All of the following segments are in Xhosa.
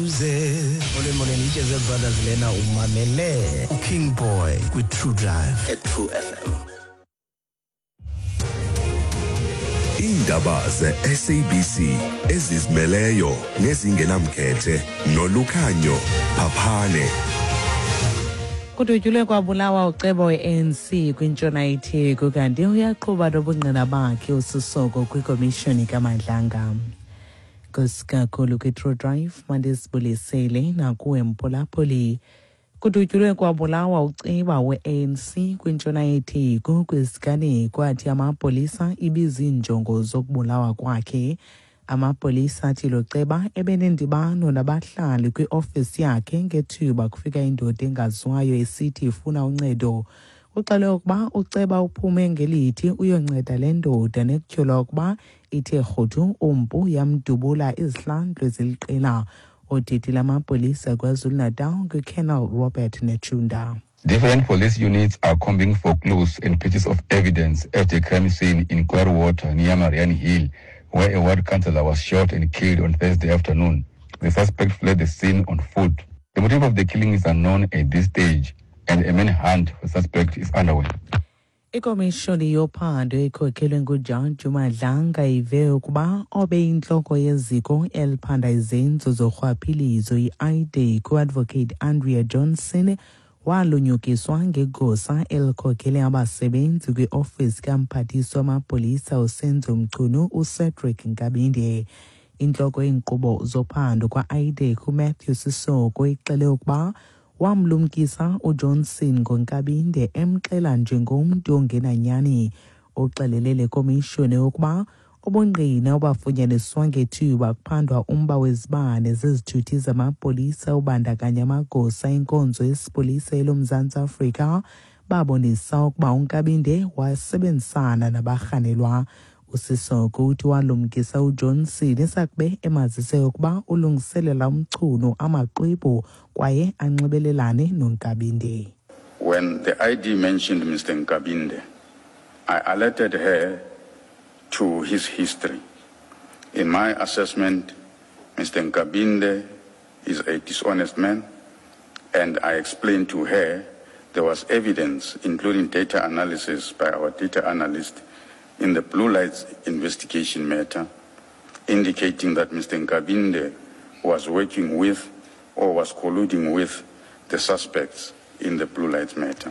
Molweni molweni iTsheze Brothers lena umamele uKing Boy kwi-True Drive at True FM. Iindaba ze-SABC ezizimeleyo nezingenamkhethe nolukhanyo Phaphane. Kudutyulwe kwabulawa uceba we-ANC kwintshona yeTheku kanti uyaqhuba nobungqina bakhe uSisoko kwikomishoni kaMadlanga. Nkosi kakhulu kwi-True Drive mandizibulisele nakuwe mphulaphuli. Kudutyulwe kwabulawa uceba we-ANC kwintshona yeTheku kwisiganeko athi amapolisa ibiziinjongo zokubulawa kwakhe. Amapolisa athi lo ceba ebenendibano nabahlali kwiofisi yakhe ngethuba kufika indoda engaziwayo esithi ifuna uncedo. Kuxelwe ukuba uceba uphume ngelithi uyonceda le ndoda nekutyholwa ukuba ithe rhuthu umpu yamdubula izihlandlo eziliqela. Odidi lamapolisa KwaZulu-Natal nguColonel Robert Netshiunda. Different police units are combing for clues and pieces of evidence at the crime scene in Clearwater near Mariannhill, where a ward councillor was shot and killed on Thursday afternoon. The suspect fled the scene on foot. The motive of the killing is unknown at this stage, and a manhunt for the suspect is underway. Ikomishoni yophando ekhokhelwe nguJaji uMadlanga ive ukuba obeyintloko yeziko eliphanda izenzo zorhwaphilizo i-IDAC uAdvocate Andrea Johnson walunyukiswa ngegosa elikhokhele abasebenzi kwiofisi kamphathiswa wamapolisa uSenzo Mchunu uCedric Nkabinde. Intloko yeenkqubo zophando kwa-IDAC uMatthew Sisoko ixele ukuba wamlumkisa uJohnson ngoNkabinde emxela njengomntu ongenanyani. Uxelele le komishoni ukuba ubungqina obafunyaniswa ngethuba kuphandwa umba wezibane zezithuthi zamapolisa obandakanya amagosa enkonzo yesipolisa eloMzantsi Afrika babonisa ukuba uNkabinde wasebenzisana nabarhanelwa. USisoko uthi walumkisa uJohnson esakube emazise ukuba ulungiselela uMchunu amaxwebhu kwaye anxibelelane noNkabinde. When the ID mentioned Mr. Nkabinde, I alerted her to his history. In my assessment, Mr. Nkabinde is a dishonest man, and I explained to her there was evidence, including data analysis by our data analyst in the Blue Lights investigation matter, indicating that Mr. Nkabinde was working with or was colluding with the suspects in the Blue Lights matter.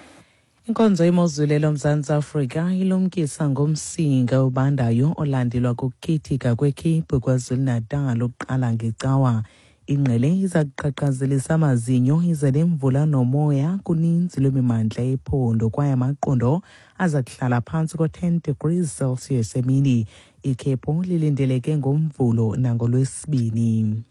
Inkonzo yemozulu eloMzantsi Afrika ilumkisa ngomsinga obandayo olandelwa kukukhithika kwekhephu KwaZulu-Natal ukuqala ngeCawa. Ingqele iza kuqhaqhazelisa amazinyo ize nemvula nomoya kuninzi lwemimandla yephondo kwaye amaqondo aza kuhlala phantsi ko-10 degrees Celsius emini. Ikhephu lilindeleke ngoMvulo nangoLwesibini.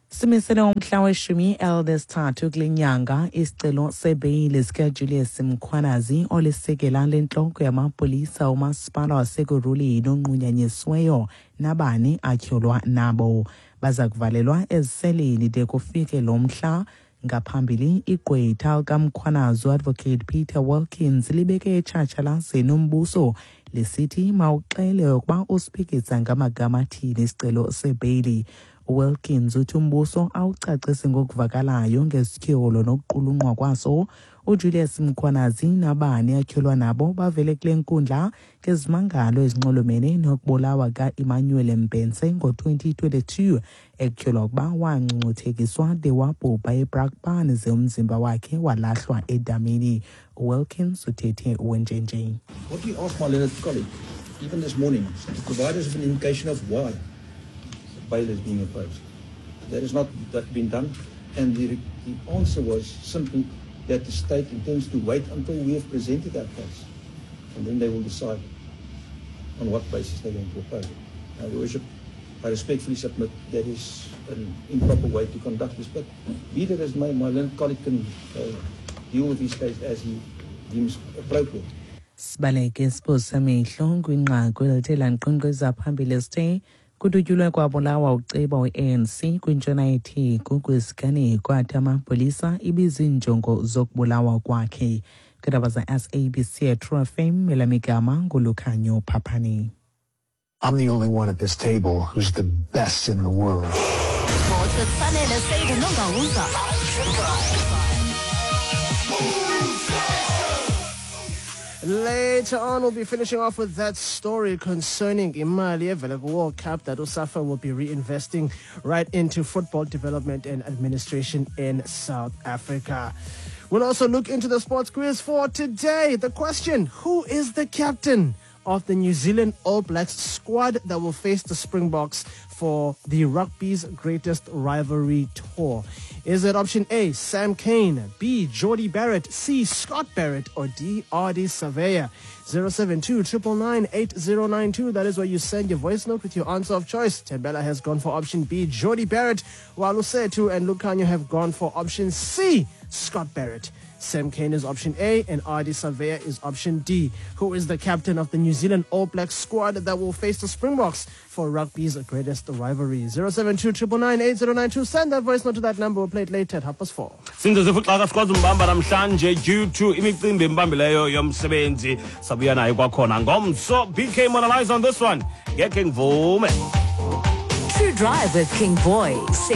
Simisele umhla weshumi elinesithathu kule nyanga isicelo sebheyile sikaJulius Mkhwanazi olisekela lentloko yamapolisa umasipala waseKurhuleni onqunyanyisiweyo nabani atyholwa nabo. Baza kuvalelwa eziseleni de kufike lo mhla. Ngaphambili igqwetha likaMkhwanazi uAdvocate Peter Wilkins libeke etshatshalazeni umbuso lisithi mawuxele ukuba usiphikisa ngamagama athini isicelo sebheyili. Wilkins uthi umbuso awucacisi ngokuvakalayo ngesityholo nokuqulunqwa kwaso. uJulius Mkhwanazi nabani atyholwa nabo bavele kule nkundla ngezimangalo ezinxulumene nokubulawa ka-Emmanuel Mbense ngo-2022 ekutyholwa ukuba wangcungcuthekiswa de wabhubha eBrakpan ze umzimba wakhe walahlwa edamini. Wilkins uthethe wenjenje. What we asked my learned colleague, even this morning, to provide us with an indication of why bail is being opposed. That has not that been done, and the answer was simply that the state intends to wait until we have presented our case, and then they will decide on what basis they're going to oppose it. Now, Your Worship, I respectfully submit that is an improper way to conduct this, but be that as may, my learned colleague can deal with his case as he deems appropriate. Sibaleke siphosa amehlo kwinqaku elithe lanqenqeza phambili esithe kudutyulwe kwabulawa uceba we-ANC kwintshona yeTheku kwisiganeko athi amapolisa ibiziinjongo zokubulawa kwakhe. Kwiindaba za-SABC True FM elamigama nguLukhanyo Phaphani. I'm the only one at this table who's the best in the world. Sports. Sports with Sanele Seydu Nongawuza. Later on, we'll be finishing off with that story concerning imali evela World Cup that USAFA will be reinvesting right into football development and administration in South Africa. We'll also look into the sports quiz for today. The question, who is the captain of the New Zealand All Blacks squad that will face the Springboks for the rugby's greatest rivalry tour? Is it option A, Sam Cane, B, Jordie Barrett, C, Scott Barrett, or D, Ardie Savea? 072 999 8092. That is where you send your voice note with your answer of choice. Tembela has gone for option B, Jordie Barrett, while Usetu and Lucanio have gone for option C, Scott Barrett. Sam Cane is option A and Ardie Savea is option D. Who is the captain of the New Zealand All Blacks squad that will face the Springboks for rugby's greatest rivalry? 072 999 8092. Send that voice note to that number. We'll play it later at 4:30. Since zifuxaka sikwazi umbamba namhlanje due to imicimbi embambileyo yomsebenzi, sabuya naye kwakhona ngomso. BK Monalize on this one, ngekhe ngivume. True Drive with King Boy. Say